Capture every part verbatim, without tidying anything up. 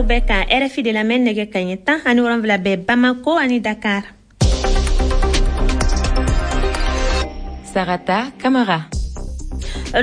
Aw bɛ ka R F I de lamɛn. Nɛgɛ kaɲɛ tan ani wolonwula bɛ Bamako ani Dakar. Sarata Kamara.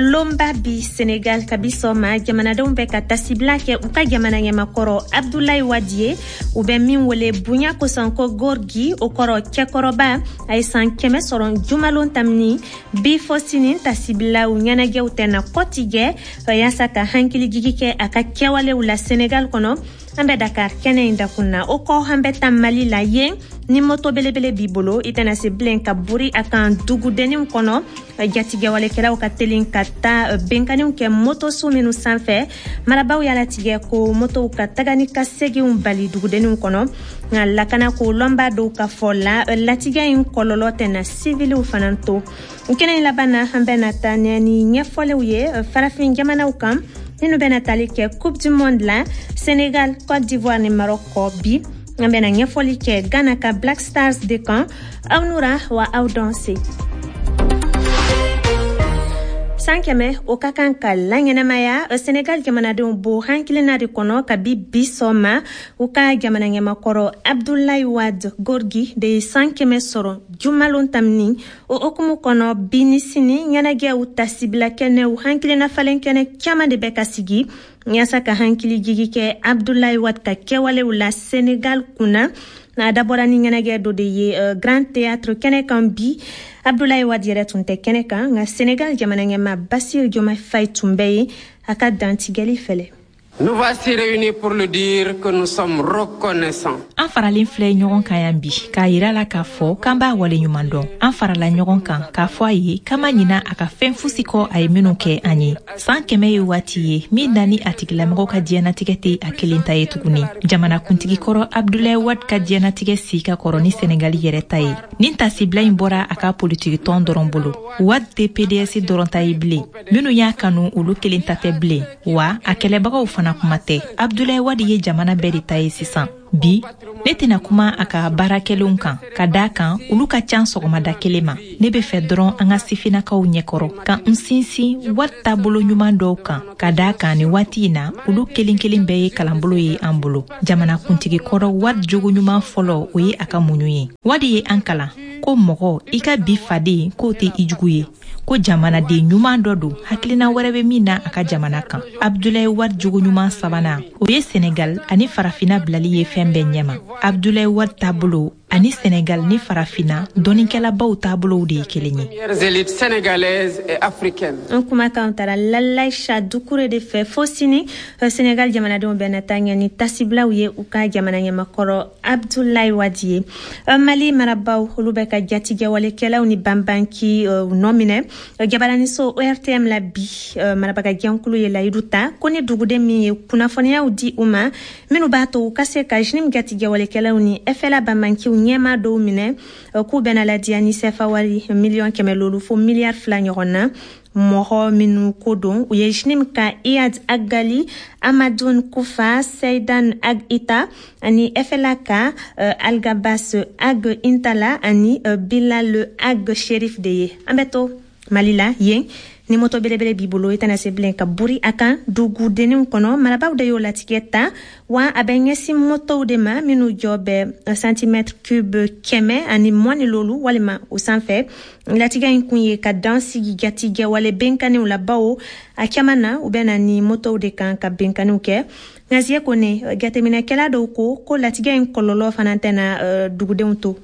Lonba bi Senegal, kabi sɔgɔma jamanadenw bɛ ka tasibila kɛ u ka jamana ɲɛmakɔrɔ Abdulayi Wadi ye, u bɛ min wele bonya kosɔn ko Gorgui, o kɔrɔ cɛkɔrɔba. A ye san kɛmɛ sɔrɔ jumalon tamini. Bi fɔ sini, tasibilaw ɲɛnajɛw tɛna kɔtigɛ yaasa ka hakilijigi kɛ a ka kɛwalew la Senegal kɔnɔ. An bɛ Dakar kɛnɛ in dakun na. O kɔ, an bɛ taa Mali la. Yen, ni moto belebele b'i bolo, i tɛna se bilen ka buri a kan dugudenninw kɔnɔ. Jatigɛwalekɛlaw ka telin ka taa benkanniw kɛ motoso minnu sanfɛ. Marabaw y'a latigɛ ko motow ka taga ni ka seginw bali dugudenninw kɔnɔ. Nka lakana ko lɔnba dɔw ka fɔ la, latigɛ in kɔlɔlɔ tɛna siviliw fana to. Kɛnɛ in laban na, an bɛna taa ni ɲɛfɔliw ye farafin jamanaw kan minnu bɛna tali kɛ Coupe du monde la, Sénégal, Côte d'Ivoire ni Maroc kɔ. Bi, an bɛna ɲɛfɔli kɛ Ghana ka Black Stars de kan. Aw nura wa aw dɔn se. San kɛmɛ, o ka kan ka laɲɛnamaya. Senegal jamanadenw bo hankilina de kɔnɔ kabi bi sɔgɔma. U ka jamana ɲɛmakɔrɔ Abdulayi Wad, Gorgui, de ye san kɛmɛ sɔrɔ jumalon tamini. O hukumu kɔnɔ, bi ni sini, ɲɛnajɛw, tasibila kɛnɛw, hankilina falen kɛnɛ caman de bɛ ka sigi yaasa ka hankili jigi kɛ Abdulayi Wad ka kɛwalew la Senegal kunna. A dabɔra ni ɲɛnajɛ dɔ de ye Grand Théâtre kɛnɛ kan bi. Abdulayi Wad yɛrɛ tun tɛ kɛnɛ kan, nka Senegal jamana ɲɛma Basir Diomaye Faye tun bɛ yen. A ka dantigɛli fɛlɛ. Nous voici réunis pour le dire que nous sommes reconnaissants. An faralen filɛ ɲɔgɔn kan yan bi k'a yira la k'a fɔ k'an b'a waleɲuman dɔn. An farala ɲɔgɔn kan k'a fɔ a ye k'an ma ɲina a ka fɛn fosi kɔ a ye minw kɛ an ye. Saan kɛmɛ ye waati ye min na ni a tigilamɔgɔ ka diɲɛnatigɛ tɛ a kelen ta ye tuguni. Jamanakuntigi kɔrɔ Abdulayi Wad ka diɲɛnatigɛ si ka kɔrɔ ni Senegali yɛrɛ ta ye. Nin tasibila in bɔra a ka politikitɔn dɔrɔn bolo. Wad tɛ P D S dɔrɔn ta ye bilen. Minnu y'a kanu, olu kelen ta tɛ bilen wa, a kɛlɛbagaw fana kuma tɛ. Abdulayi Wadi ye jamana bɛɛ de ta ye sisan. Bi, ne tɛna kuma a ka baara kɛlenw kan, ka daa kan olu ka can sɔgɔmada kelen ma. Ne be fɛ dɔrɔn an ka sifinnakaw ɲɛkɔrɔ ka n sinsin wari taabolo ɲuman dɔw kan, ka daa kan ni waati in na, olu kelen kelen bɛɛ ye kalanbolo ye an bolo. Jamanakuntigi kɔrɔ Wadi jogo ɲuman fɔlɔ, o ye a ka muɲu ye. Wadi ye an kalan ko mɔgɔ i ka bi faden k'o tɛ i jugu ye, ko jamanaden ɲuman dɔ don, hakilina wɛrɛ bɛ min na a ka jamana kan. Abdulayi Wadi jogo ɲuman sabanan, o ye Senegal ani Farafina bilali ye fɛn bɛɛ ɲɛma. Abdulayi Wadi taabolo ani Senegal ni Farafina dɔnnikɛlabaw taabolow de ye kelen ye. Élites sénégalaises et africaines. An kumakan taara Lalaïcha Dukure de fɛ. Fo sini, Senegal jamanadenw bɛna taa ɲɛ ni tasibilaw ye u ka jamana ɲɛmakɔrɔ Abdulayi Wadi ye. Mali marabaw, olu bɛ ka jatigɛwalekɛlaw ni banbanki nɔ minɛ. Jabaraniso O R T M la bi, marabaga jɛnkulu ye layidu ta ko ni duguden min ye kunnafoniyaw di u ma minnu b'a to u ka se ka J N I M jatigɛwalekɛlaw ni F L A banbankiw ɲɛma dɔw minɛ, k'u bɛna ladiya ni sefa wari miliyɔn kɛmɛ lolu fo miliyari fila ɲɔgɔn na. Mɔgɔ minnu ko don, u ye J N I M ka Iyad Agali, Amadun Kufa, Seidan Ag Ita ani F L A ka uh, Algabas Ag Intala ani uh, Bilal Ag Sherif de ye. An bɛ to Mali la. Yen, ni moto belebele b'i bolo, i tɛna se bilen ka buri a kan dugudenninw kɔnɔ. Marabaw de y'o latigɛ ta wa, a bɛ ɲɛsin motow de ma minnu jɔ bɛ centimètre cube kɛmɛ ani mugan ni lolu walima o sanfɛ. Latigɛ in kun ye ka dan sigi jatigɛwale benkanniw la, bawo a caman na, u bɛ na ni motow de kan ka benkanniw kɛ. Nka Kone, jateminɛkɛla dɔw ko ko latigɛ in kɔlɔlɔ fana tɛna uh, dugudenw to.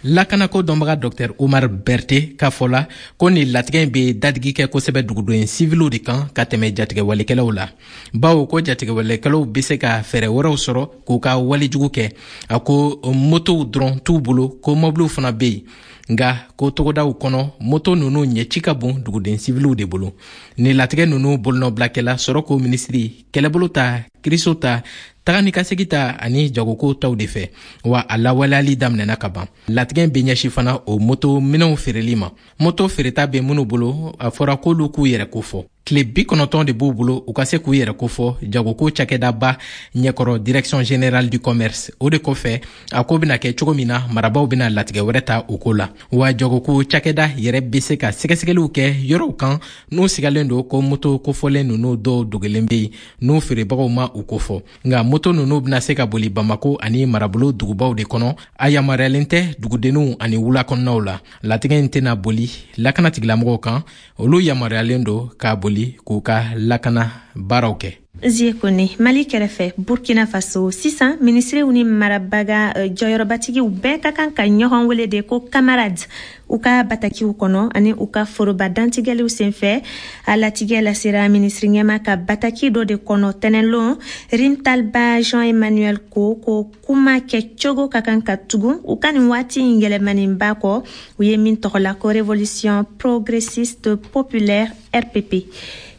Lakanako dɔnbaga Docteur Omar Berte k'a fɔ la ko nin latigɛ in be dadigi kɛ kosɛbɛ duguden siviliw de kan ka tɛmɛ jatigɛwalekɛlaw la, bawo ko jatigɛwalekɛlaw be se ka fɛɛrɛ wɛrɛw sɔrɔ k'u ka walejugu kɛ. A ko motow dɔrɔn t'u bolo, ko mɔbiliw fana be yen, nga ko togodaw kɔnɔ, moto nunu ɲɛci ka bon duguden siviliw de bolo. Nin latigɛ nunu bolonɔbilakɛla sɔrɔko minisiri, kɛlɛbolo ta, kiriso ta, taga ni ka segi ta ani jagoko taw de fɛ, wa a lawaleyali daminɛna ka ban. Latigɛ bɛ ɲɛsi fana o moto minɛnw feereli ma. Moto feereta bɛ minnu bolo, a fɔra k'olu k'u yɛrɛ kofɔ. Tile bi kɔnɔntɔn de b'u bolo u ka se k'u yɛrɛ kofɔ jagoko cakɛdaba ɲɛkɔrɔ, Direction générale du commerce. O de kɔfɛ, a ko bɛna kɛ cogo min na, marabaw bɛna latigɛ wɛrɛ ta o ko la. Wa jagoko cakɛda yɛrɛ bɛ se ka sɛgɛsɛgɛliw kɛ yɔrɔw kan n'u sigalen don ko moto kofɔlen ninnu dɔw dogolen bɛ yen, n'u feerebagaw ma. u kofɔ. Nka moto ninnu bɛna se ka boli Bamako ani marabolo dugubaw de kɔnɔ. A yamaruyalen tɛ dugudenninw ani wula kɔnɔnaw la. Latigɛ in tɛna boli lakana tigilamɔgɔw kan, olu yamaruyalen don k'a boli k'u ka lakana baaraw kɛ. Zie Kone, Mali kɛrɛfɛ, Burkina Faso, sisan minisiriw ni marabaga jɔyɔrɔbatigiw bɛɛ ka kan ka ɲɔgɔn wele de ko camarade u ka batakiw kɔnɔ ani u ka foroba dantigɛliw senfɛ. A latigɛ lasera minisiri ɲɛma ka bataki dɔ de kɔnɔ tɛnɛlon. Rimtalba Jean Emmanuel ko ko kuma kɛcogo ka kan ka tugun u ka nin waati in yɛlɛmaninba kɔ, u ye min tɔgɔla ko Révolution progressiste populaire, R P P.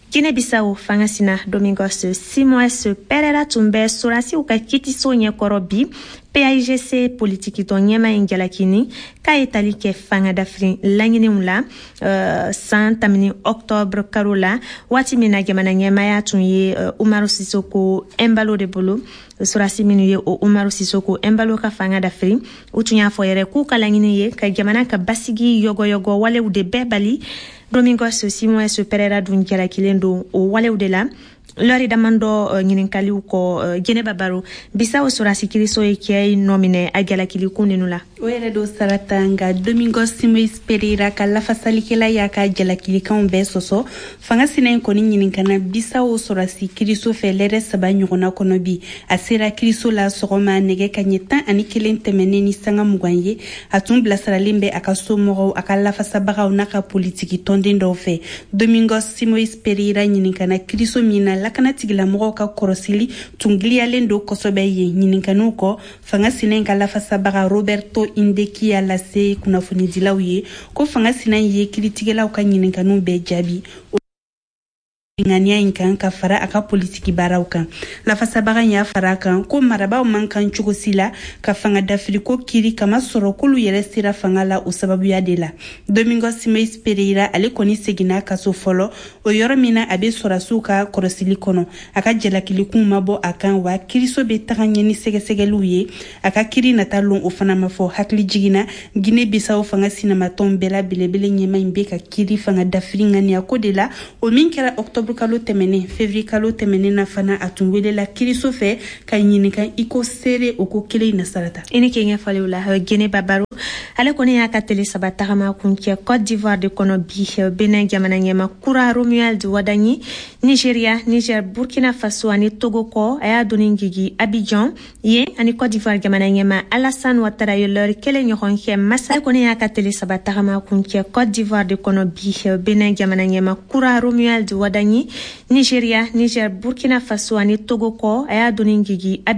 Guinée Bissau fanga sina Domingos Simoes Pereira tun bɛ sorasiw ka kitiso ɲɛkɔrɔ bi. P A I G C politikitɔn ɲɛma in jalakini k'a ye tali kɛ fanga dafiri laɲiniw la uh, san tamini octobre karo la, waati min na jamana ɲɛmaya tun ye uh, Umaru Sisoko Embalo de bolo. Sorasi minnu ye o Umaru Sisoko Embalo ka fanga dafiri, u tun y'a fɔ yɛrɛ k'u ka laɲini ye ka jamana ka basigi yɔgɔyɔgɔ walew de bɛɛ bali. Domingos Simoes Pereira dun jalakilen don o walew de la. Lɔri damandɔ ɲininkaliw kɔ, Jɛnɛba Baro, Bisawo sorasi kiriso ye cɛ nɔ minɛ a jalakilikun ninu la. O yɛrɛ do, Sarata. Nka Domingos Simoes Pereira ka lafasalikɛla y'a ka jalakilikanw bɛɛ sɔsɔ. Fanga sina in kɔni ɲininkana Bisawo sɔrasi kiriso fɛ lɛrɛ saba ɲɔgɔnna kɔnɔ bi. A sera kiriso la sɔgɔma nɛgɛ ka ɲɛ tan ani kelen tɛmɛnen ni sanga mugan ye. A tun bilasiralen bɛ a ka somɔgɔw, a ka lafasabagaw n'a ka politiki tɔnden dɔw fɛ. Domingos Simoes Pereira ɲininkana kiriso min na, lakana tigilamɔgɔw ka kɔrɔsili tun giliyalen don kosɛbɛ yen. Ɲininkaniw kɔ, fanga sina in ka lafasabaga Roberto Indeki y'a lase kunnafonidilaw ye ko fanga sina in ye kiritigɛlaw ka ɲininkaniw bɛɛ jaabi ŋaniya in kan ka fara a ka politiki baaraw kan. Lafasabaga y'a fara a kan ko marabaw man kan cogo si la ka fanga dafiriko kiri, kama sɔrɔ k'olu yɛrɛ sera fanga la o sababuya de la. Domingos Simoes Pereira, ale kɔni seginna kaso fɔlɔ, o yɔrɔ min na a be sɔrasiw ka kɔrɔsili kɔnɔ. A ka jalakilikun ma bɔ a kan, wa kiriso be taga ɲɛ ni sɛgɛsɛgɛliw ye. A ka kiri nata lon, o fana ma fɔ. Hakili jiginna, Guinée Bissau fanga sinamatɔn bɛɛ la belebele ɲɛma in be ka kiri fanga dafiri ŋaniya ko de la, o min kɛra octobre kalo tɛmɛnen. Février kalo tɛmɛnen na fana, a tun welela kiriso fɛ ka ɲininka i ko seere o ko kelen na, Sarata. I ni ke ɲɛfɔliw la, Jɛnɛba Baro. Ale kɔni y'a ka tele saba tagama kun cɛ Côte d'Ivoire de kɔnɔ bi. Benin jamana ɲɛma kura Romuald Wadagni, Nigeria, Niger, Burkina Faso ani Togo kɔ, a y'a doni jigi Abidjan yen ani Côte d'Ivoire jamana ɲɛma Alassane Ouattara ye lɔri kelen ɲɔgɔn kɛ masa. Ale kɔni y'a ka tele saba tagama kun cɛ Côte d'Ivoire de kɔnɔ bi. Benin jamana ɲɛma kura Romuald Wadagni, Nigeria, Niger, Burkina Faso ani Togo kɔ, a y'a doni jigi Abidjan.